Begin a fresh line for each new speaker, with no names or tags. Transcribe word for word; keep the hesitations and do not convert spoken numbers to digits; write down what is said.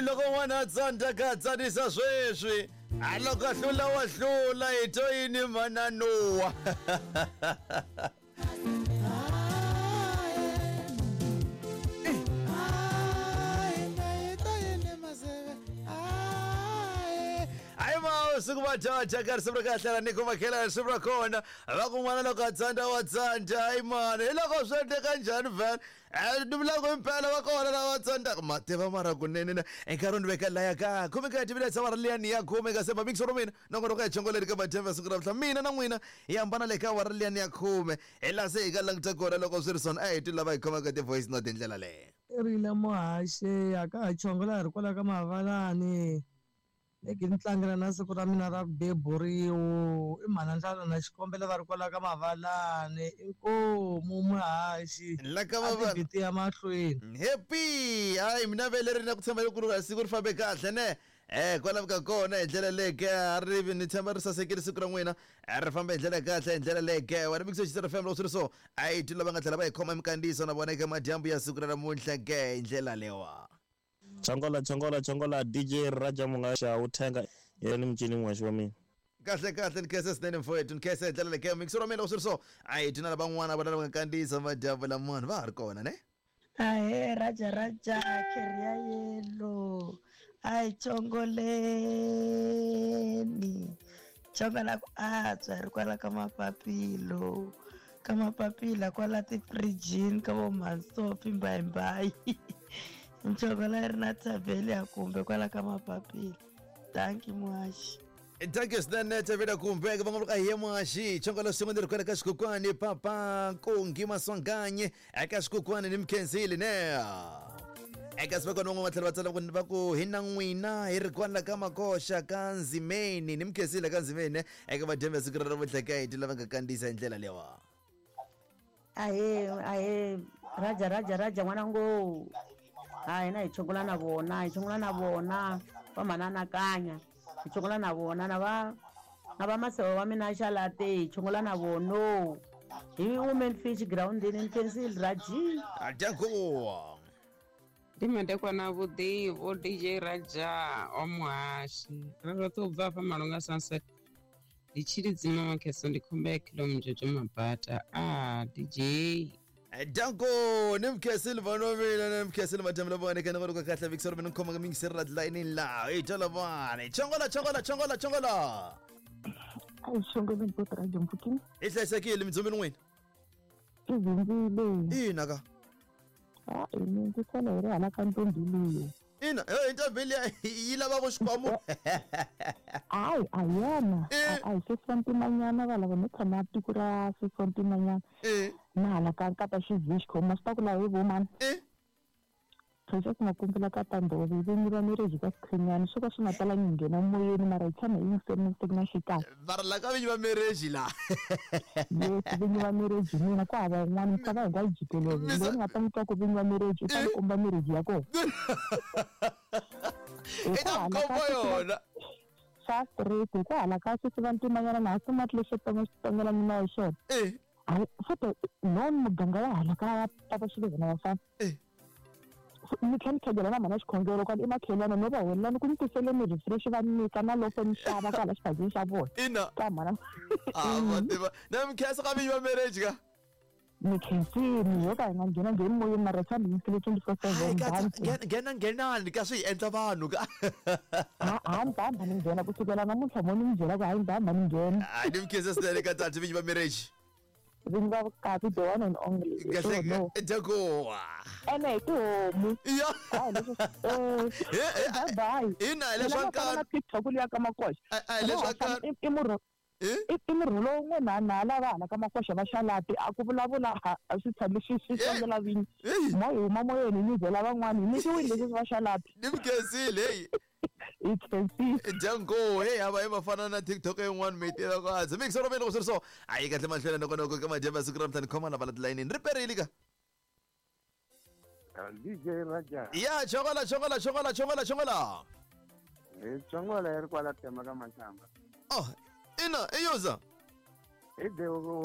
loko n'wana a tsandza ka tsanisa sweswi a loko a hlula wa hlula hi to yini mananuwa siku vajaja ka risimu ra kahle ra Nico Makhela risimu ra kona va ku n'wana loko a tsandza wa tsandza hayi mani hi loko swi endleka njhani vhele ni vulaka impela va kona lava tsandzaka ma tiva mara kunene na enkarhi ni veka laya ka khume ka timinetse awara liyani ya khume ka semba mixo ro mina nongonoko ya chongoleri ka madyambu ya siku ra namuntlha mina na n'wina hi hambana le ka awara liyani ya khume hi laha se hi ka languta kona loko swi ri swona a hi twi lava hi khomaka ti-voice note hi ndlela leyo
rile muhaxi a ka ha chongola hi ri kwala ka mavalani leki ni tlangela na siku ra mina ra ku beburiwa i mhana ndlala na xikombelo va ri kwala ka mavalani inkomu muhaxi
la ka mavalani
ya mahlweni
happy hayi mina vele ri na ku tshemba loko siku ri fambe kahle ne eh kwala ka kona hi ndlela leke a ri ni tshemba ri sasekile siku ra n'wina ri famba hi ndlela kahle hi ndlela leke wena mixo xi F M loko swi ri so a hi twi lava nga tlhela va hi khoma minkandziyiso na vona eka madyambu ya siku ra namuntlha ke hi ndlela lewa
Chongola chongola chongola D J Raja Mungasha uthenga yena mcini n'waxi wa mina
kahle kahle ni khensa swinene mfowethu ni khensa hi ndlela leke mixo ra mina loko swi ri so a hi twi na lavan'wana vona lava nga kandziyisa madyambu lamani va ha ri kona ne
ahe Raja Raja kheriya yelo a hi chongoleni chongola ku antswa hi ri kwala ka mapapilo ka mapapila kwala tifirijini ka vo Mhansofi mbayimbayi nchongola yi ri na thavheli ya kumbe kwala ka mapapila thank you muhaxi
thank you swinene thavheli kumbe va nga ka hi muhaxi chongola swin'we ni ri kwala ka xikokwani papa Nkungi Maswanganye eka xikokwani ni mkhensile ne eka sivekona van'wana va tlhela va tsala va ku hi na n'wina hi ri kwala ka makoxa ka Nzimeni ni mkhensile ka Nzimeni eka madyambu ya siku ra namuntlha ka hi lava nga kandziyisa hi ndlela lewa
ahe ahe Raja Raja Raja n'wana ngo hayi na hi chongola na vona hi chongola na vona va mananakanya hi chongola na vona na va na va maseve wa mina xalate hi chongola na vono hi women fish groundini ni khensile Raji
adyankuwa
ndi madekwana vhuḓi vho D J Raja wa muhaxi ri roṱhe u bva hafha Malunga Sunset ndi tshilidzima makheso ndi khomba ya khilomjojo mabata a D J
Danko ni mkhensile vana mina ni mkhensile madyambu lavona eka nongonoko kahle mixo ra mina ni khoma ka mingiseri ra line la hi twa lavana chongola chongola chongola chongola
a hi chongoleni bot Raja mpfukini
hi hlayisekile mindzumini n'wina
i zindzile
ina ka
a ini ndzi sala hi ri hala ka ntombi liyo
ina e ntombi liya yi lava ku xikwamo
hayi a yona a hi sesi wa ntimanyana va lava no tshama tiko ra sesi wa ntimanyana na hala ka nkata xivixco ma swi ta ku laha hi vomani Precious Makumbula ka Tandove vinyi va marriage ka Sikhinyani swo ka swi nga talangi nghena moyeni mara hi tshama hi yingiseni siku na xikarhi
va ri la ka vinyi va marriage la
yes vinyi va marriage mina ku hava un'wana misava hinkwayo jikelele loyi ni nga ta n'wi twa ku vinyi va marriage u ta ni komba marriage ya kona
i ta mi komba yona
xa straight hi ku hala ka sesi va ntimanyana na ha sumati lexo tongela mina hi xona futhi no muganga wa hala ka papa xilevhana vafana ni tlhela ni tlhegela na mhana xikhongelo kwala i makhelwana no va huwelela ku ni tisele ni refresh va nyika na loko ni xava kwala xiphazini xa vona
ina
ka mhana
a va tiva na mi khensa ka vinyi va marriage ka
ni khensini yo ka hi nga nghena ngheni moyeni mara tshama hi yingisele twenty four seven
nghena nghenani ka swi hi endla vanhu ka
ha ni ta hamba ni nghena kusukela namuntlha mo ni mi byela ku hayi ni ta hamba ni nghena
hayi ni mi khensa swinene ka tati vinyi va marriage
vinyi va vukati the one and only
kahle jagowa
ene hi tihomu
ya
bye bye
ina hi leswa
nkarhi TikTok liya ka makoxa
a hi leswa nkarhi
i murhu i murhu lowu n'we na lava hala ka makoxa va xalati a ku vulavula a swi tshami swi swi songela vinyi mo hi huma moyeni ni byela van'wani hi nyikiwile leswi va xalati
ni mi khensile heyi
hi khensile
Django hey hava hi mafana na TikTok yin'wana mi tiva ku hansi mixo ra mina loko swi ri so a yi kahle mahlweni nongonoko ka madyambu ya siku ra mutani khoma lava la tilayinini ri perile ka
D J Raja
ya chongola chongola chongola chongola chongola
hi chongola yi ri kwala tema ka mashamba
oh ina i yoza
hi
Oh.